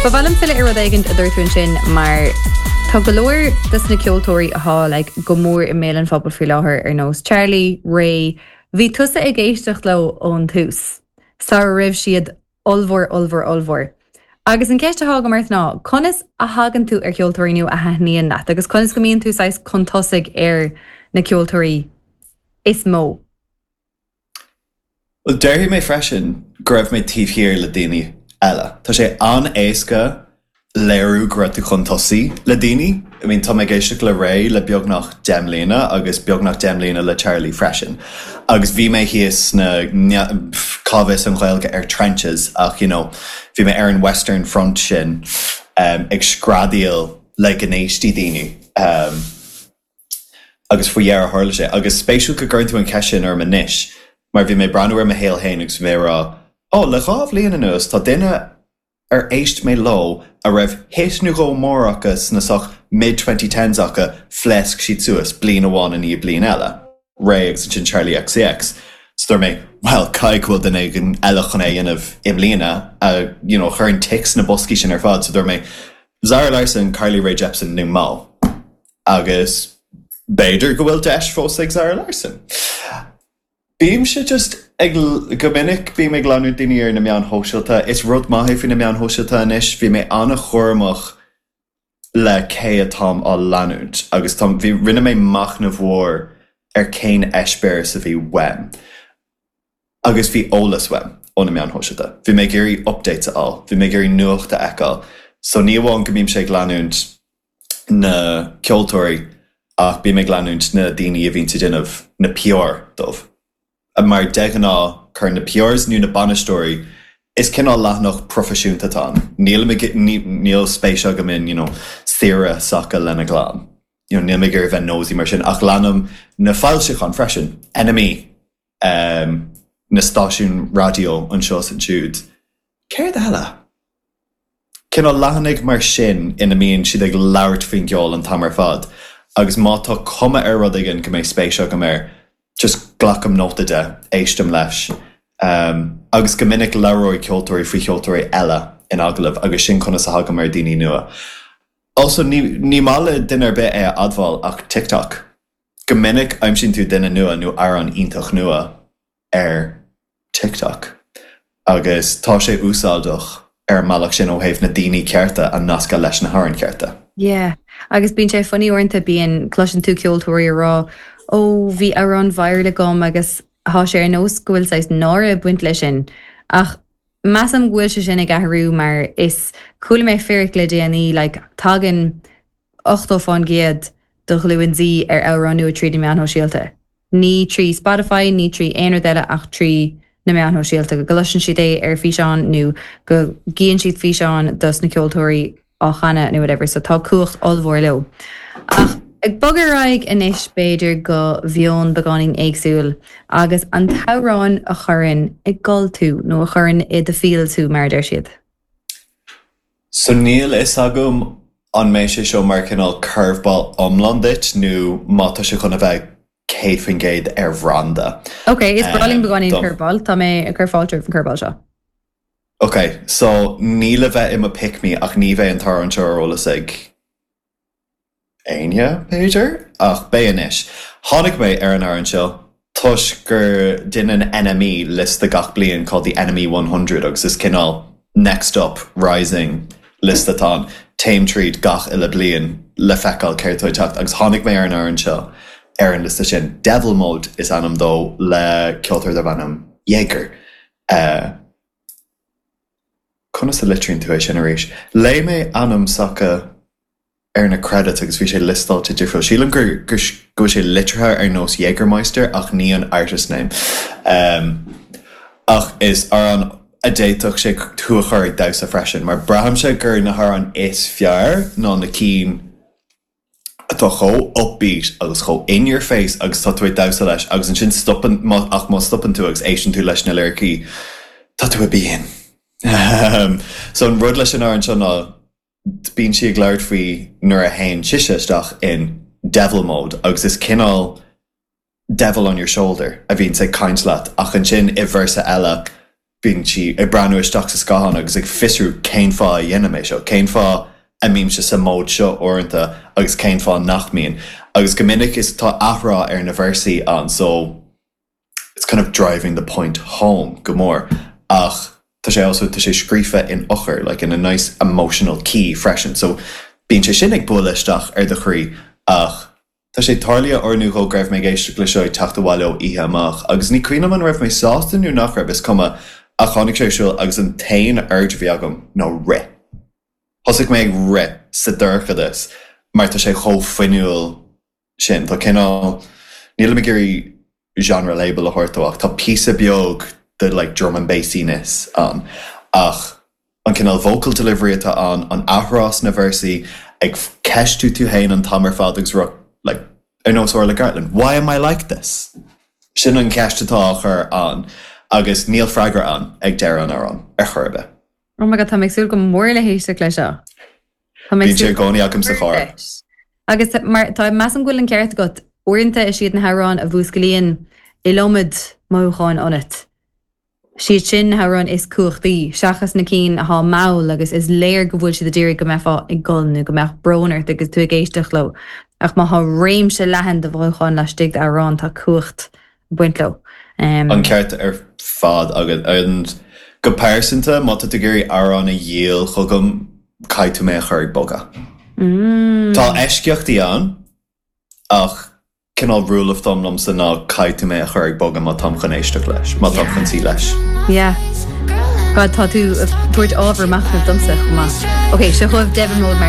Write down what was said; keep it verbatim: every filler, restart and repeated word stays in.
Ba mhaith liom filleadh ar rud éigin a dúirt tú ansin mar tá go leor des na ceoltóirí atá like, go mór i mbéal an phobail faoi láthair ar nós Charlie, Raye, bhí tusa ag éisteacht leo ón tús. Sara raibh siad ollmhór ollmhór ollmhór. Agus an ceist atá agam ort ná, conas a thagann tú ar cheoltóirí nua a thaitníonn leat, agus conas go mbíonn tú saghas chun tosaigh ar na ceoltóirí is mó. Well déarfaidh mé freisin go raibh mé taobh thiar le daoine eile. Tá sé an-éasca léiriú go raibh tú chun tosaigh le daoine. I mean tá mé ag éisteacht le Raye le beagnach deich mbliana agus beagnach deich mbliana le Charlie freisin. Agus bhí mé thíos na cá bhfios an Ghaeilge ar trenches ach you know, bhí mé ar an Western Front sin um, ag screadaíl le go n-éistfeadh daoine. Um, agus faoi dheireadh tharla sé agus spéisiúil go gcuireann tú an cheist sin orm anois, mar bhí mé breathnú ar mo shaol féin agus bhí mé rá, ó le dhá bhliain anuas tá duine ar éist mé leo a raibh hit nó dhó mór acu sna soch mid twenty tens acu phléasc siad suas bliain amháin i ndiaidh bliain eile. Raye agus ansin Charlie XCX. So dúirt mé, well caithfidh go bhfuil duine éigin eile chun é a dhéanamh i mbliana a you know, chuireann ticks na boscaí sin ar fad, so dúirt mé Zara Larsson, Carly Rae Jepsen nó Mo. Agus b'fhéidir go bhfuil deis fós ag Zara Larsson. Bímse just ag go minic bím ag leanúint daoine ar na meáin shóisialta. Is rud maith é faoi na meáin shóisialta anois, bhí mé an-chúramach le cé atáim á leanúint agus tá bhí rinne mé machnamh mhór ar cén eispéireas a bhí uaim. Agus bhí eolas uaim ó na meáin shóisialta. Bhí mé ag iarraidh updates a fháil, bhí mé ag iarraidh nuacht a fheiceáil. So ní amháin go mbímse ag leanúint na ceoltóirí ach bím ag leanúint na daoine a bhíonn ag déanamh na PR dóibh. Mar de ghnáth cuireann na PRs nó na bainisteoirí is cineál leathanach proifisiúnta atá ann. Níl níl spéis agam in you know, saoire s'acu lena gclann. You know, níl mé ag iarraidh bheith nosy mar sin ach leanaim na foilseacháin freisin, NME, um, na stáisiúin raidió anseo is ansiúd. Céard eile? Cineál leathanaigh mar sin ina mbíonn siad ag labhairt faoin gceol an t-am ar fad, agus má tá cuma ar rud éigin go mbeidh spéis agam air, just glacaim nóta de, éistim leis. Um, agus go minic labhróidh ceoltóirí faoi cheoltóirí eile in agallamh agus sin conas a thagaim ar daoine nua. Also ní, ní maith le duine ar bith é a admháil ach TikTok. Go minic aimsíonn tú duine nua nó amhrán iontach nua ar TikTok. Agus tá sé úsáideach ar an mbealach sin ó thaobh na daoine cearta a nascadh leis na hamhráin cearta. Yeah, agus bíonn sé funny uaireanta bíonn cloiseann tú ceoltóirí ag rá ó bhí amhrán viral agam agus tá sé ar nós go bhfuil saghas náire ag baint leis sin. Ach measaim go bhfuil sé sin ag athrú mar is chuala mé fíric le déanaí like, tagann ochtó faoin gcéad de ghlúin Z ar amhrán nua trí na meáin shóisialta. Ní trí Spotify, ní trí aon rud eile ach trí na meáin shóisialta go gcloiseann siad é ar físeán nó go gcíonn siad físeán dos na ceoltóirí á chanadh nó whatever, so tá cumhacht ollmhór leo. Ach ag bogadh ar aghaidh anois b'fhéidir go mheon beagáinín éagsúil agus an t-amhrán a chuireann ag gol tú nó a chuireann i do feels tú mar a deir siad. So níl fhios agam an mbeidh sé seo mar cineál curveball iomlán duit nó má tá sé chun a bheith céad faoin gcéad ar bhranda. Ok, is breá liom beagáinín curveball, Tá mé ag cur fáilte roimh an curveball seo. Ok, so ní le bheith i mo pick me ach ní bheidh an t-amhrán seo ar eolas ag éinne b'fhéidir ach beidh anois. Tháinig mé ar an amhrán seo toisc gur déanann NME liosta gach bliain called the NME one hundred agus is cineál next up rising liosta atá ann. Téim tríd gach uile bliain le feiceáil céard atá ag teacht agus tháinig mé ar an amhrán seo ar an liosta sin. Devil Mode is ainm dó le ceoltóir darb ainm Jaeger. Uh, conas a litríonn tú é sin arís? Léigh mé ainm s'acu ar na credits agus bhí sé liostáilte difriúil. Sílim gur gur go bhfuil sé litrithe ar nós Jägermeister ach ní an artist name. Um, ach is amhrán a d'fhéadfadh sé tú a chur ag damhsa freisin, mar braithimse gur na hamhráin is fearr ná na cinn atá chomh upbeat agus chomh in your face agus tá tú ag damhsa leis agus ansin stopann ach má stopann tú agus éisteann tú leis na liricí tá tú i bpian. Um, so an rud leis an amhrán seo ná bíonn sí ag labhairt faoi nuair a théann sise isteach in devil mode agus is cineál devil on your shoulder a bhíonn ag caint leat ach ansin i véarsa eile Bíonn sí ag breathnú isteach sa scáthán agus ag fiosrú cén fáth a dhéanaim é seo, cén fáth a mbímse sa mód seo uaireanta agus cén fáth nach mbíonn. Agus go minic is tá athrá ar na véarsaí ann so it's kind of driving the point home go mór. Ach tá sé also tá sé scríofa in eochair, like in a nice emotional key freisin. So bíonn sé sin ag bualadh isteach ar do chroí ach Tá sé tarlaithe uair nó dhó go raibh mé ag éisteacht le seo ag teacht abhaile ó oíche amach agus ní cuimhin liom an raibh mé sásta nó nach raibh, is cuma, ach tháinig sé ar siúl agus an t-aon urge a bhí agam ná rith. Thosaigh mé ag rith sa dorchadas mar tá sé chomh fuinniúil sin. Tá cineál, nílim ag iarraidh genre label a thabhairt dó ach tá píosa beag de like drum and bassiness ann ach an cineál vocal delivery atá ann, an athrá sna véarsaí, ag ceistiú tú féin an t-am ar fad agus rá like ar nós Orla Gartland, why am I like this? Sin an cheist atá á chur ann agus níl freagra ann ag deireadh an amhráin ar chor ar bith. Oh my god, tá mé ag súil go mór le héisteacht leis seo. Tá mé ag Bíonn sé súil i gcónaí agam sa charr. leis. Agus mar tá measaim go bhfuil an ceart agat, uaireanta is iad na hamhráin a mhúsclaíonn iliomad mothúcháin ionat. Siad sin na hamhráin is cumhachtaí, seachas na cinn atá mall agus is léir go bhfuil siad ag iarraidh go mbeifeá ag gol nó go mbeadh brón ort agus tú ag éisteacht leo. Ach má tá réimse leathan de mhothúcháin laistigh d'amhrán tá cumhacht ag baint leo. Um, An ceart ar fad agat and go pearsanta má tá tú ag iarraidh amhrán a dhíol chugam caithfidh tú mé a chur ag bogadh. mm, Tá eisceachtaí ann ach cineál rule of thumb liomsa ná caithfidh tú mé a chur ag bogadh má táim chun éisteacht leis, má táim chun suí leis. Yeah. God tá tú ag tabhairt ábhar machnamh domsa chomh maith. Ok, seo chugaibh Devon Road mar